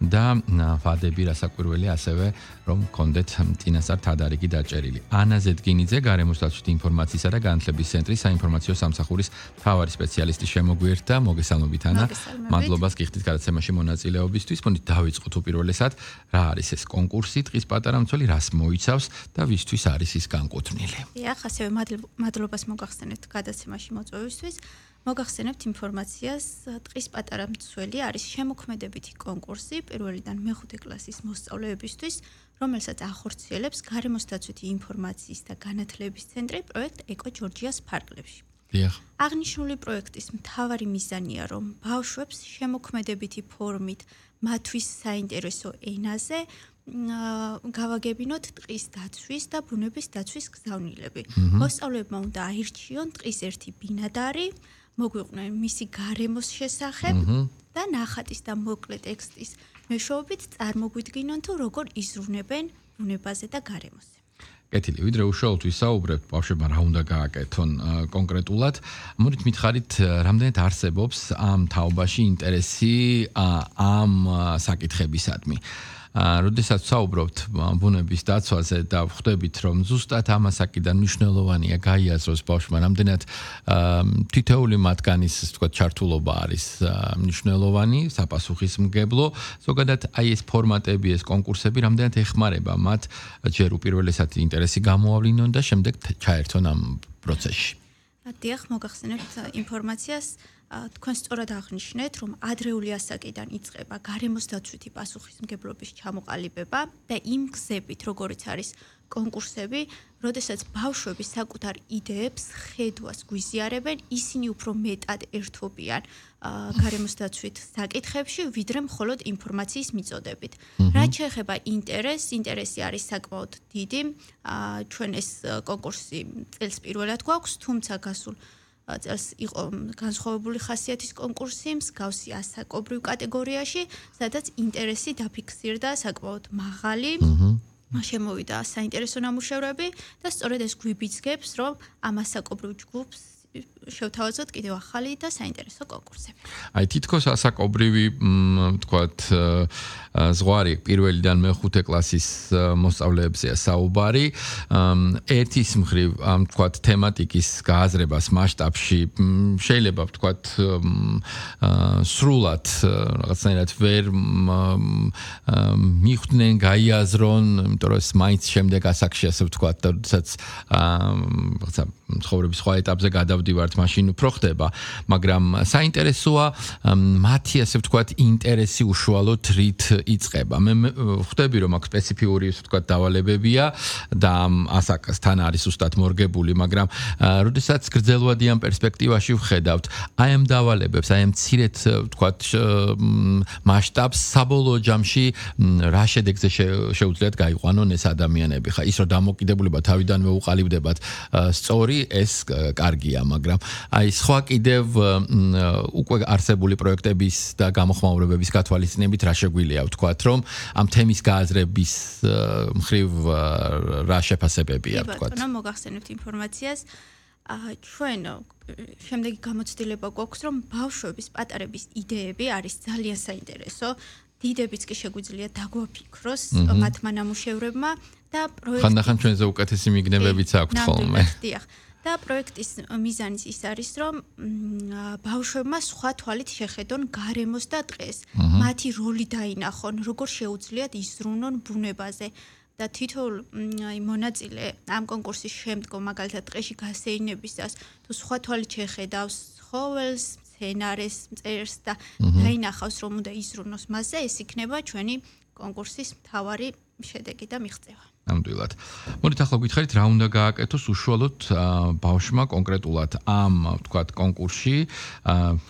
და ვადები რასაკვირველია ასევე რომ გქონდეთ წინასწარ თადარიგი დაჭერილი. ანა ზედგინიძე გარემოს დაცვითი ინფორმაციისა და განათლების ცენტრის საინფორმაციო სამსახურის მთავარი სპეციალისტი შემოგვიერთდა. მოგესალმებით ანა. მადლობას გიხდით გადაცემაში მონაწილეობისთვის. მოდით დავიწყოთ უპირველესად რა არის ეს კონკურსი ტყის პატარა მცველი, რას მოიცავს და ვისთვის არის ის განკუთვნილი. დიახ, ასევე მადლობას მოგახსენებთ გადაცემაში მოწვევისთვის. მოგახსენებთ ინფორმაციას, ტყის პატარა მცველი არის შემოქმედებითი კონკურსი პირველიდან მეხუთე კლასის მოსწავლეებისთვის, რომელსაც ახორციელებს გარემოს დაცვითი ინფორმაციის და განათლების ცენტრი პროექტ ეკო ჯორჯიას ფარგლებში. დიახ. აღნიშნული პროექტის მთავარი მიზანია, რომ ბავშვებს შემოქმედებითი ფორმით მათთვის საინტერესო ენაზე გავაგებინოთ ტყის დაცვის და ბუნების დაცვის გზავნილები. მოსწავლეებმა უნდა აირჩიონ ტყის ერთი ბინადარი, მოგვიყვნენ მისი გარემოს შესახებ და ნახატის და მოკლე ტექსტის მეშვეობით წარმოგვიდგინონ თუ როგორ იზრუნებენ ბუნებაზე და გარემოზე. კეთილი, ვიდრე უშუალოდ ვისაუბრებთ ბავშვებმა რა უნდა გააკეთონ კონკრეტულად, მოდით მითხარით, რამდენად არსებობს ამ თაობაში ინტერესი ამ საკითხებისადმი. როდესაც ვსაუბრობთ ბუნების დაცვაზე და ვხვდებით, რომ ზუსტად ამასაკიდან მნიშვნელოვანია გაიაზროს ბავშვმა, რამდენად თითოეული მათგანის ჩართულობა არის მნიშვნელოვანი, საპასუხისმგებლო, ზოგადად აი ეს ფორმატები, ეს კონკურსები რამდენად ეხმარება მათ ჯერ უპირველესად ინტერესი გამოავლინონ და შემდეგ ჩაერთონ ამ პროცესში. დიახ, მოგახსენებთ ინფორმაციას. თქვენ სწორად აღნიშნეთ, რომ ადრეული ასაკიდან იწყება გარემოს დაცვითი პასუხისმგებლობის ჩამოყალიბება და იმ გზებით, როგორიც არის კონკურსები, როდესაც ბავშვები საკუთარ იდეებს, ხედვას გვიზიარებენ, ისინი უფრო მეტად ერთვობიან გარემოს დაცვით საკითხებში, ვიდრე მხოლოდ ინფორმაციის მიწოდებით. რაც შეეხება ინტერესი არის საკმაოდ დიდი. ჩვენ ეს კონკურსი წელს პირველად გვაქვს, თუმცა გასულ წელს იყო განსხვავებული ხასიათის კონკურსი მსგავსი ასაკობრივ კატეგორიაში, სადაც ინტერესი დაფიქსირდა საკმაოდ მაღალი. შემოვიდა საინტერესო ნამუშევრები და სწორედ ეს გვიბიძგებს, რომ ამ ასაკობრივ ჯგუფს შევთავაზოთ კიდევ ახალი და საინტერესო კონკურსები. აი თითქოს ასაკობრივი ვთქვათ ზღვარი პირველიდან მეხუთე კლასის მოსწავლეებზეა საუბარი. ერთის მხრივ ვთქვათ თემატიკის გააზრებას მასშტაბში შეიძლება ვთქვათ სრულად რაღაცნაირად ვერ მიხვდნენ, გაიაზრონ, იმიტომ რომ ეს მაინც შემდეგ ასაკში ასე ვთქვათ და როდესაც რაღაცა ცხოვრების სხვა ეტაპზე გადავდივართ, მაშინ უფრო ხდება, მაგრამ საინტერესოა მათი ასე ვთქვათ ინტერესი უშუალოდ რით იწყება. მე ხვდები რომ აქ სპეციფიური ასე ვთქვათ დავალებებია და ასაკასთან არის უბრალოდ მორგებული, მაგრამ როდესაც გრძელვადიან პერსპექტივაში ვხედავთ, აი ამ დავალებებს, აი ამ მცირედ ვთქვათ მასშტაბს საბოლოო ჯამში რა შედეგზე შეუძლიათ გაიყვანონ ეს ადამიანები. ხა ის რომ დამოკიდებულება თავიდანვე უყალიბდებათ სწორი, ეს კარგია, მაგრამ აი სხვა კიდევ უკვე არსებული პროექტების და გამოხმაურებების გათვალისწინებით რა შეგვიძლია ვთქვათ, რომ ამ თემის გააზრების მხრივ რა შეფასებებია ვთქვათ. ბატონო, მოგახსენებთ ინფორმაციას. ჩვენ შემდეგი გამოცდილება გვაქვს, რომ ბავშვების პატარების იდეები არის ძალიან საინტერესო. დიდებიც კი შეგვიძლია დაგვაფიქროს მათმა ნამუშევრებმა და პროექტი ხანდახან ჩვენზე უკეთესი მიგნებებიც აქვთ ხოლმე. დიახ. და პროექტის მიზანიც ის არის, რომ ბავშვებმა სხვა თვალით შეხედონ გარემოს და ტყეს. მათი როლი დაინახონ, როგორ შეუძლიათ იზრუნონ ბუნებაზე. და თითოეულ მონაწილე ამ კონკურსის შემდგომ მაგალითად ტყეში გასეირნებისას თუ სხვა თვალით შეხედავს ცხოველს, მცენარეს, მწერს და დაინახავს, რომ უნდა იზრუნოს მასზე, ეს იქნება ჩვენი კონკურსის მთავარი შედეგი და მიღწევა. ნამდვილად. მოდით ახლა გითხარით რა უნდა გააკეთოს უშუალოდ ბავშვმა კონკრეტულად ამ ვთქვათ კონკურსში,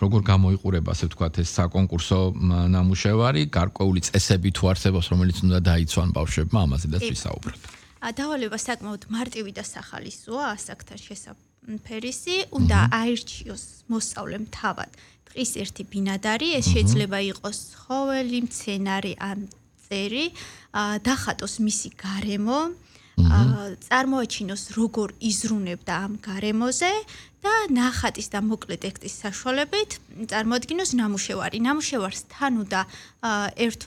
როგორ გამოიყურება ასე ვთქვათ ეს საკონკურსო ნამუშევარი, გარკვეული წესები თუ არსებობს, რომელიც უნდა დაიცვან ბავშვებმა, ამაზედაც ვისაუბროთ. დავალება საკმაოდ მარტივი და სახალისოა, ასაკთან შესაფერისი, უნდა აირჩიოს მოსწავლემ თავად ტყის ერთი ბინადარი, ეს შეიძლება იყოს ცხოველი, მცენარე ან წერი, დახატოს მისი გარემო, წარმოაჩინოს როგორ იზრუნებდა ამ გარემოზე და ნახატის და მოკლე ტექსტის საშუალებით წარმოადგინოს ნამუშევარი. ნამუშევარს თან უნდა ერთო